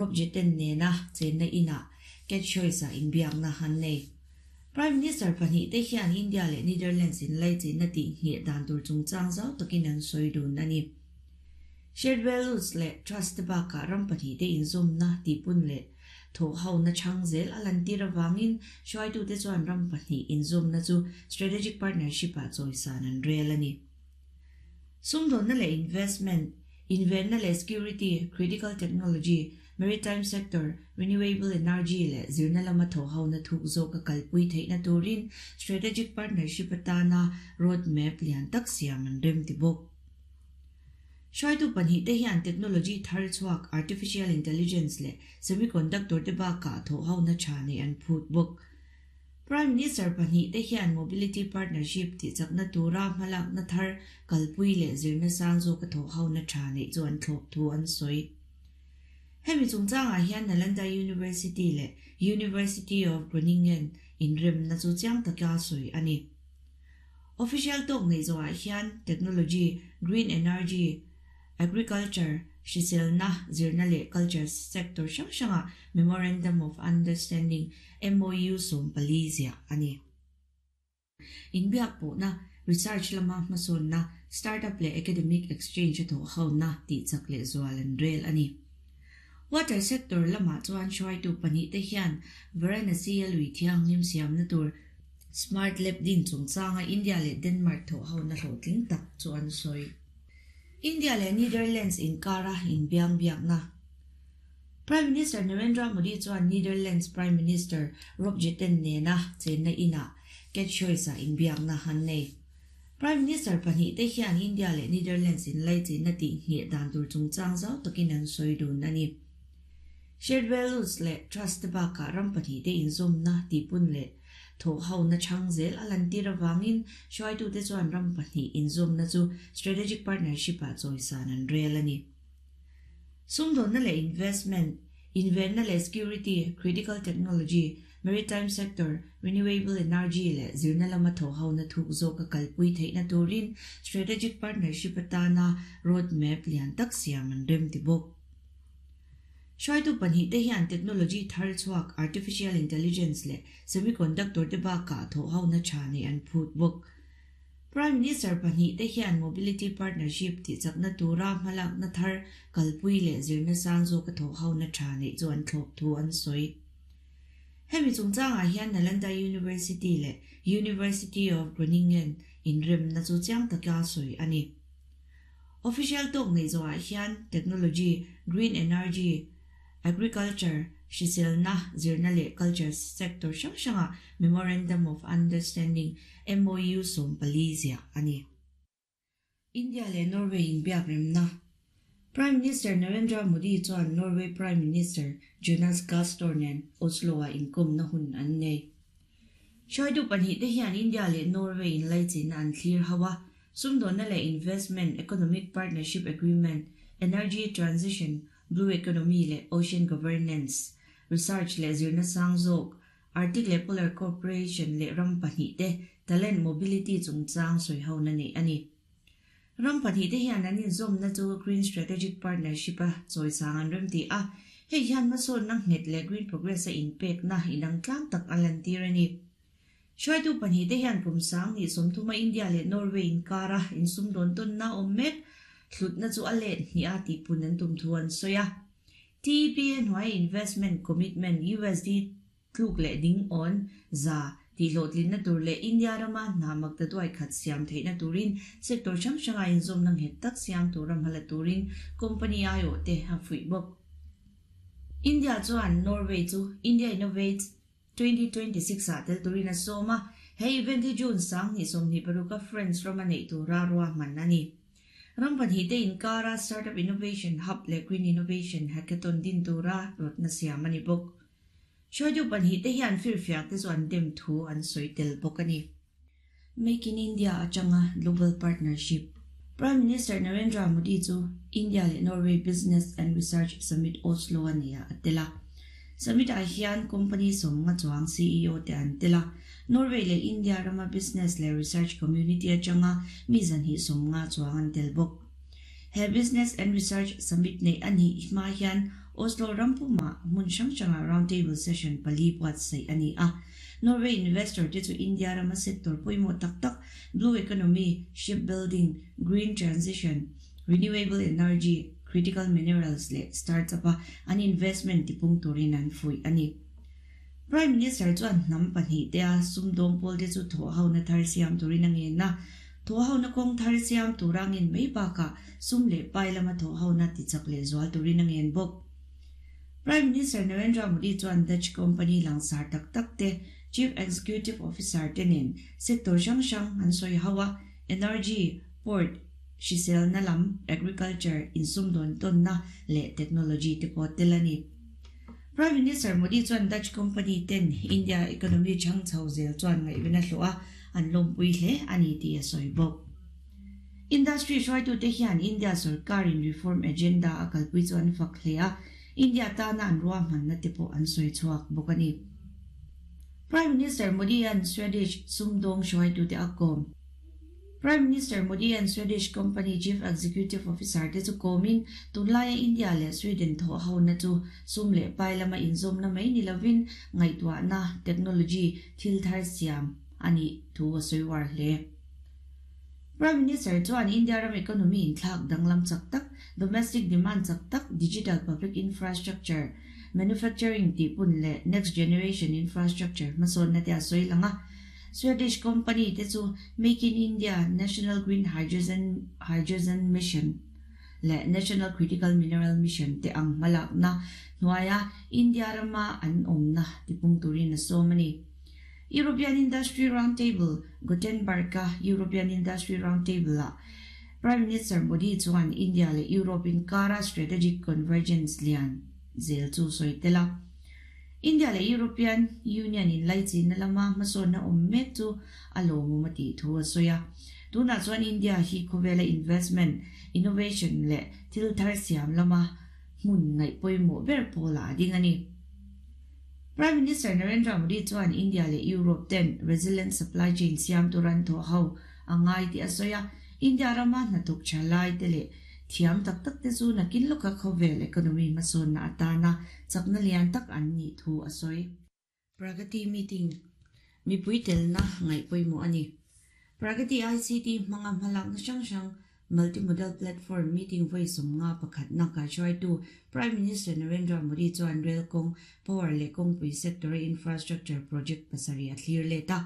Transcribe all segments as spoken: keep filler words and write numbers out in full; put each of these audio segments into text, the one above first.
Rob Jetten nena chenna inah Catchoice-a inbiakna an nei. Prime Minister pahnih te hian India leh Netherlands inlaichinna tih ngheh dan tur chungchang zau takin an sawi dun a ni. Shared values leh trust te bakah ram pahnih te inzawmna tihpun leh thawh hona chhang zel a lantir avangin hruaitute chuan ram pahnih inzawmna chu strategic partnership-ah chawisan an rel a ni. Sumdawnna leh investment, invenna leh security, critical technology, maritime sector, renewable energy leh zirna lama thawh hona thuk zawk a kalpui theihna turin strategic partnership atana road map lian tak siam an rem ti bawk. Hruaitu pahnih te hian technology thar chhuak artificial intelligence leh semiconductor te bakah thawh hona tha nei an phut bawk. Prime Minister pahnih te hian mobility partnership tih chakna tura hmalakna thar kalpui leh zirna sang zawk a thawh hona tha nei chu an thlawp thu an sawi. Hemi chungchangah hian Nalanda University leh University of Groningen inremna chu chiang taka sawi a ni. Official talk nei zawhah hian technology, green energy, agriculture, hriselna, zirna leh culture sector hrang hrangah Memorandum of Understanding MOU sawm pali ziah a ni. Inbiak pawhna, research lama hmasawnna, startup leh academic exchange a thawh hona tih chak leh zual an rel a ni. Water sector lamah chuan hruaitu pahnih te hian Varanasi a lui thianghlim siamna tur Smart Lab din chungchanga India leh Denmark thawh hona hlawhtling tak chu an sawi. India leh Netherlands inkara inbiang biakna. Prime Minister Narendra Modi chuan Netherlands Prime Minister Rob Jetten nena chenna inah Catchoice-a inbiakna an nei. Prime Minister pahnih te hian India leh Netherlands inlaichinna tih ngheh dan tur chungchang zau takin an sawi dun a ni. Shared values leh trust te bakah ram pahnih te inzawmna tihpun leh thawh hona chhang zel a lantir avangin hruaitute chuan ram pahnih inzawmna chu strategic partnership-ah chawisan an rel a ni. Sumdawnna leh investment, invenna leh security, critical technology, maritime sector, renewable energy leh zirna lama thawh hona thuk zawk a kalpui theihna turin strategic partnership atana road map lian tak siam an rem ti bawk. Hruaitu pahnih te hian technology thar chhuak artificial intelligence leh semiconductor te bakah thawh hona tha nei an phut bawk. Prime Minister pahnih te hian mobility partnership tih chakna tura hmalakna thar kalpui leh zirna sang zawk a thawh hona tha nei chu an thlawp thu an sawi. Hemi chungchangah hian Nalanda University leh University of Groningen inremna chu chiang taka sawi a ni. Official talk nei zawhah hian technology, green energy, agriculture, hriselna, zirna leh culture sector hrang hrangah Memorandum of Understanding MOU sawm pali ziah a ni. India leh Norway inbiak remna. Prime Minister Narendra Modi chuan Norway Prime Minister Jonas Gahr Store nen Oslo-ah inkawmna hun an nei. Hruaitu pahnih te hian India leh Norway inlaichinna an thlir ho a, sumdawnna leh investment, economic partnership agreement, energy transition, blue economy leh ocean governance, research leh zirna sang zawk, Arctic leh Polar Cooperation leh ram pahnih te talent mobility chungchang sawi hona nei a ni. Ram pahnih te hian an inzawmna chu Green Strategic Partnership a chawisang an rem ti a, hei hian hmasawnna nghet leh Green Progress a inpekna inang tlang tak a lantir a ni. Hruaitu pahnih te hian kum sang ni sawmthuma India leh Norway inkara insumdawn tawnna awm mek hlutna chu a let hnih a tihpun an tum thu an sawi a. TEP a hnuai Investment Commitment USD tluk leh ding awn za tih hlawhtlinna tur leh India rama hna makta duai khat siam theihna turin sector hrang hranga inzawmna nghet tak siam tura hmala turin company aiawh te a fuih bawk. India chuan Norway chu India Innovates twenty twenty six ah tel turin a sawm a, hei event hi June sang hnih sawmhnih paruk a France rama neih tura ruahman a ni. Ram pahnih te inkara Startup Innovation Hub leh Green Innovation Hackathon din tura rawtna siam a ni bawk. Hruaitu pahnih te hian firfiak te chu an dem thu an sawi tel bawk a ni. Make in India atanga Global Partnership. Prime Minister Narendra Modi chu India leh Norway Business and Research Summit Oslo a nia a tel a. Summit ah hian company sawmnga chuang CEO te an tel a. Norway leh India rama business leh research community atanga mi zanhnih sawmnga chuang an tel bawk. He Business and Research Summit nei a nih hma hian Oslo rampuma hmun hrang hranga round table session pali buatsaih a ni a. Norway investor te chu India rama sector pawimawh tak tak blue economy, shipbuilding, green transition, renewable energy, critical minerals leh startup a an investment tipung turin an fuih a ni. Prime Minister chuan hnam pahnih te a sumdawng pawl te chu thawh ho na thar siam turin a ngen a. Thawh ho na kawng thar siam tura ngen mai bakah sum leh pai lama thawh ho na tichak leh zual turin a ngen bawk. Prime Minister Narendra Modi chuan Dutch company langsar tak tak te Chief Executive Officer te nen sector hrang hrang an sawi ho a, energy, port, hriselna lam, agriculture, insumdawn tawnna leh technology te pawh tel a ni. Prime Minister Modi chuan Dutch company ten India economy chhang chho zel chuan ngaihven a hlawh a, an lawmpui hle a ni tih a sawi bawk. Industry hruaitute hian India sorkarin reform agenda a kalpui chu an fak hle a, India tana an ruahmanna te pawh an sawi chhuak bawk a ni. Prime Minister Modi an Swedish sumdawng hruaitute a kawm. Prime Minister Modi an Swedish company Chief Executive Officer te chu kawmin tunlaia India leh Sweden thawh ho na chu sum leh pai lama inzawmna mai ni lovin ngaihtuahna technology thil thar siam a nih thu a sawi war hle. Prime Minister chuan India ram economy inthlak danglam chak tak, domestic demand chak tak, digital public infrastructure, manufacturing tihpun leh next generation infrastructure hmasawnna te a sawi lang a. Swedish company te chu Make in India, National Green Hydrogen, Hydrogen Mission leh National Critical Mineral Mission te ang hmalakna hnuaia India rama an awmna tipung turin a sawm a ni. European Industry Roundtable, Gothenburg-a European Industry Roundtable-ah Prime Minister Modi chuan India leh Europe inkara strategic convergence lian zel chu sawi tel a. India leh European Union inlaichinna lama hmasawnna awm mek chu a lawmawm a tih thu a sawi a. Tunah chuan India hi khawvela investment, innovation leh thil thar siam lama hmun ngaih pawimawh ber pawlah a ding a ni. Prime Minister Narendra Modi chuan India leh Europe ten resilient supply chain siam turan thawh ho a ngai tih a sawi a. India rama hnathawk tha lai te leh thiam tak tak te chu nakin lawka khawvel economy hmasawnna atana chakna lian tak an nih thu a sawi. Pragati meeting mipui telna ngaih pawimawh a ni. Pragati I C T hmanga hmalakna hrang hrang multimodal platform meeting vawi sawmnga pakhatna kaihruaitu Prime Minister Narendra Modi chuan rail kawng, power leh kawngpui sector infrastructure project pasarih a thlir let a.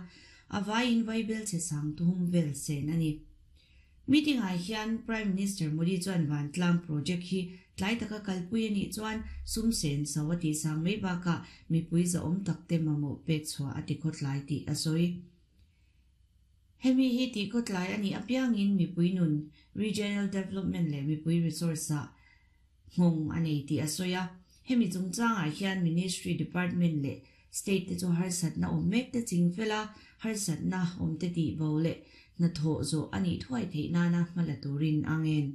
A vaiin vaibel che sang tuhum vel sen a ni. Meeting ah hian Prime Minister Modi chuan Vantlang project hi tlai taka kalpui a nih chuan sum sen so a tih sang mai bakah mipui zahawm tak te mamawh pek chhuah a ti khawtlai tih a sawi. Hemi hi tih khawtlai a nih apiangin mipui nun, regional development leh mipui resource ah nghawng a nei tih a sawi a. Hemi chungchangah hian ministry, department leh state te chu harsatna awm mek te ching fela harsatna awm te tih bo leh hnathawh zawh a nih thuai theih nana hmala turin a ngen.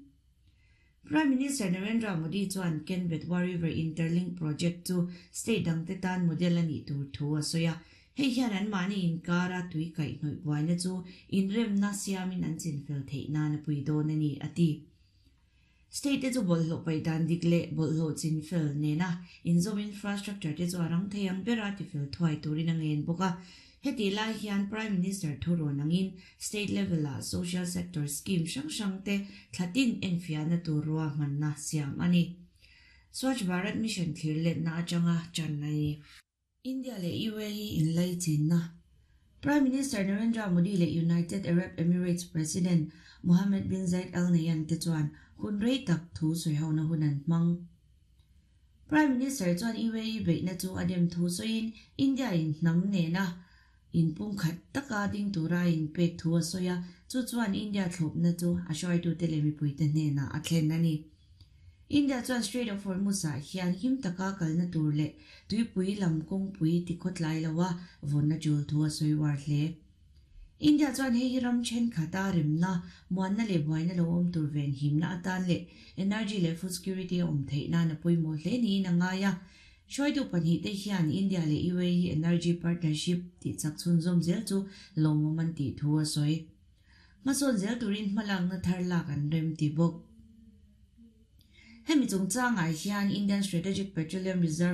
Prime Minister Narendra Modi chuan Ken Betwa River Interlink Project chu state dang te tan model a nih tur thu a sawi a. Hei hian an mahni inkara tui kaihhnawih buaina chu inremna siamin an chinfel theih nana pui dawn a ni a ti. State te chu bawlhhlawh paih dan dik leh bawlhhlawh chinfel nena inzawm infrastructure te chu a rang thei ang bera tifel thuai turin a ngen bawk a. Heti lai hian Prime Minister thu rawn angin state level ah social sector scheme hrang hrang te thlatin enfiahna tur ruahmanna siam a ni. Swachh Bharat Mission thlir letna atanga chan a ni. India leh U A E inlaichinna. Prime Minister Narendra Modi leh United Arab Emirates President Mohammed bin Zayed Al Nahyan te chuan hun rei tak thu sawi hona hun an hmang. Prime Minister chuan U A E beihna chu a dem thu sawiin India in hnam nena inpum khat taka ding tura inpek thu a sawi a, chu chuan India thlawpna chu a hruaitute leh mipuite hnenah a thlen a ni. India chuan Strait of Hormuz ah hian him taka kalna tur leh tuipui lam kawngpui tikhawtlai loa vawnna tul thu a sawi war hle. India chuan hei hi ram thenkhat a remna, muanna leh buaina lo awm tur ven himna atan leh energy leh food security a awm theih nan a pawimawh hle niin a ngai a. Hruaitu pahnih te hian India leh U A E energy partnership tih chak chhunzawm zel chu lawmawm an tih thu a sawi. Hmasawn zel turin hmalakna thar lak an rem ti bawk. Hemi chungchangah hian Indian Strategic Petroleum Reserve